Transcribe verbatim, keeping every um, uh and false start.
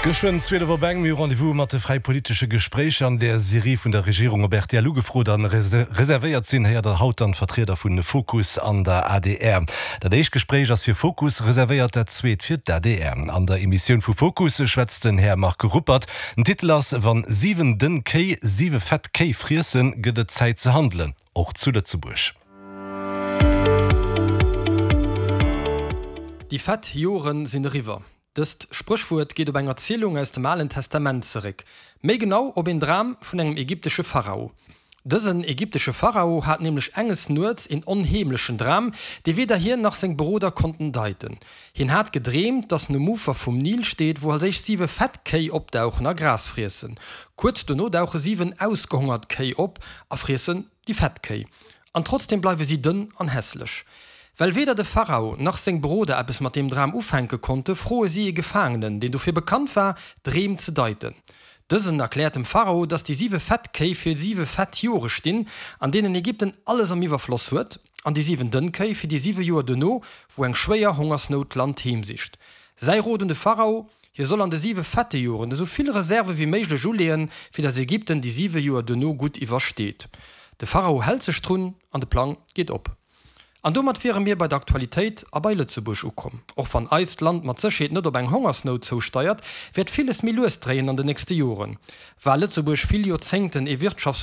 Geschwënn zwielef op eng, mir hu Rendez-vous mat de fräipolitesche Gespréicher an der Serie vun der Regierung op R T L ugefrot an reservéiert sinn, héiert der haut dann d'Vertrieder vun Fokus an der A D R. Dat éischt Gespréich ass fir Fokus reservéiert, dat zweet fir d'A D R. An der Emissioun vu Fokus schwätzt den Här Marc Ruppert. Den Titel ass Wann siwen dënn Kéi siwe fett Kéi friessen, gëtt et Zäit ze handelen, och zu Lëtzebuerg. Déi fett Joren sinn eriwwer. Dëst Spréchwuert geet op eng Erzielung aus dem Alen Testament zeréck, méi genau op een Dram vun engem ägyptesche Pharao. Dësen ägyptesche Pharao hat nämlech enges Nuets een onheemlechen Dram, dee weder hien nach seng Beroder konnten deiten. Hien hat gedreemt, dass en um Ufer vum Nil steet, wou als éischt siwe fett Kéi opdauchen a Gras friessen. Kuerz dono dauche siwen ausgehongert Kéi op a friessen déi fett Kéi. An trotzdeem bleiwe si dënn an hässlech. Well weder de Pharao nach seng Beroder eppes mat deem Dram ufänke konnte, froe si ee Gefaangenen, deen dofir bekannt war, Dreem ze deiten. Dësen erkläert dem Pharao, dass déi siwe fett Kéi fir siwe fett Jore stinn, an deenen Ägypten alles am Iwwerfloss huet, an déi siwen dënn Kéi fir déi siwe Joer duerno, wou eng schwéier Hongersnout d'Land heemsicht. Säi Rot un de Pharao, Hie soll an de siwe fette Joren esou vill Reserve wéi méiglech uleeën, fir dass Ägypten déi siwe Joer duerno gutt iwwersteet. De Pharao hält sech drun an de Plang geet op. An domat wiere mir bei der Aktualitéit a bei Lëtzebuerg ukomm. Och wann eist Land mat Sécherheet net op eng Hongersnout zousteiert, wäert villes méi lues dréien an den nächste Joren. War Lëtzebuerg vill Joerzéngten ee Wirtschafts